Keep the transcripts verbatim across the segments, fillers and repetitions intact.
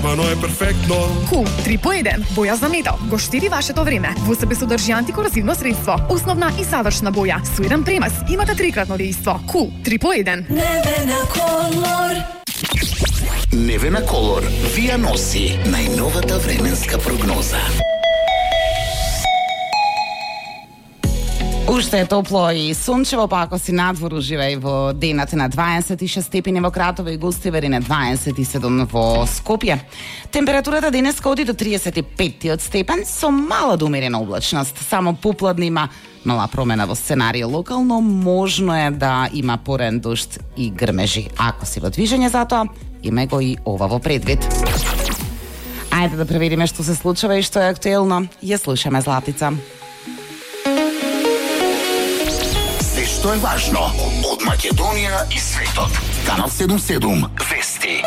Мано е перфектно. Кул три по еден. Боја за метал. Го штеди вашето време. Во себе содржи антикорозивно средство. Основна и садочна боја. Со еден премаз имате трикратно дејство. Кул три по еден. Невена Колор. Невена Колор вија носи најновата временска прогноза. Уште е топло и сончево, па ако си надвор уживај во денот на дваесет и шест степени во Кратово и Гостивар и на дваесет и седум во Скопје. Температурата денеска оди до триесет и пет степен со мала до умерена облачност. Само попладне има мала промена во сценарио локално, можно е да има порен дожд и грмежи. Ако си во движење затоа, има го и ова во предвид. Ајде да провериме што се случува и што е актуелно. Ја слушаме Златица. Што е важно од Македонија и светот. Канал седум седум Вести.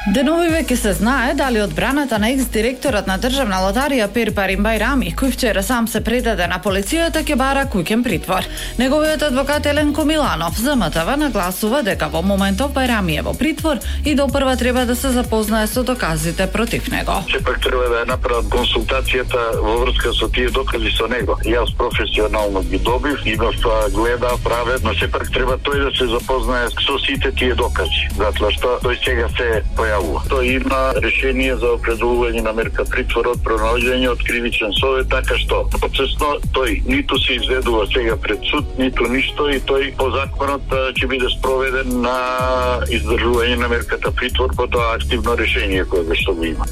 Деновиве ќе се знае дали одбраната на екс-директорот на Државна лотарија Пир Парим Бајрами, кој вчера сам се предаде на полицијата, ќе бара куќен притвор. Неговиот адвокат Еленко Миланов за ем те ве нагласува дека во моментов Бајрами е во притвор и допрва треба да се запознае со доказите против него. Сепак треба да ја направат консултацијата во врска со тие докази со него. Јас професионално ги добив, имав гледа, праве, но сепак треба тој да се запознае со сите тие докази, затоа што тој сега се појавува. Тој има решение за определување на мерка притвор од пронаоѓање од кривичен совет, така што процесно тој ниту се изведува сега пред суд, ниту ништо и тој по законот ќе биде спроведен на издржување на мерката притвор по тоа активно решение кое што го има.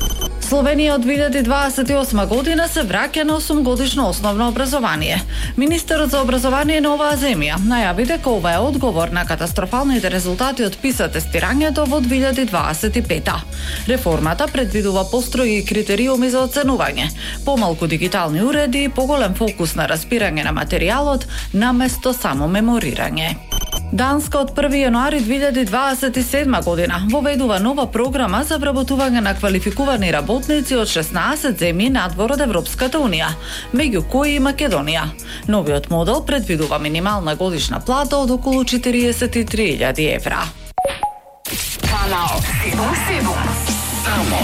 Словенија од две илјади дваесет и осма година се враќа на осум годишно основно образование. Министерот за образование на оваа земја најави дека ова е одговор на катастрофалните резултати од PISA тестирањето во две илјади дваесет и пета. Реформата предвидува построги критериуми за оценување, помалку дигитални уреди и поголем фокус на разбирање на материјалот наместо само меморирање. Данска од први јануари две илјади дваесет и седма година воведува нова програма за вработување на квалификувани работници од шеснаесет земји надвор од Европската унија, меѓу кои и Македонија. Новиот модел предвидува минимална годишна плата од околу четириесет и три илјади евра. Канал седум седум. Само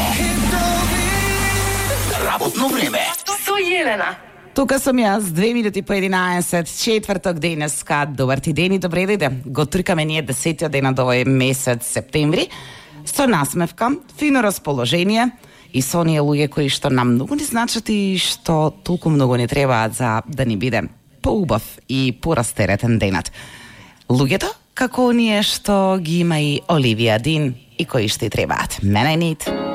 работно време Со Јелена. Тука сум јас, две минути по единаесет, четврток денеска. Добар ти ден и добре дојде. Го тркаме ние десетиот ден од овој месец септември, со насмевка, фино расположение и со оние луѓе кои што нам многу не значат и што толку многу не требаат за да ни биде поубав и порастеретен денат. Луѓето како оние што ги има и Оливија Дин и кои што и требаат. Мене нит.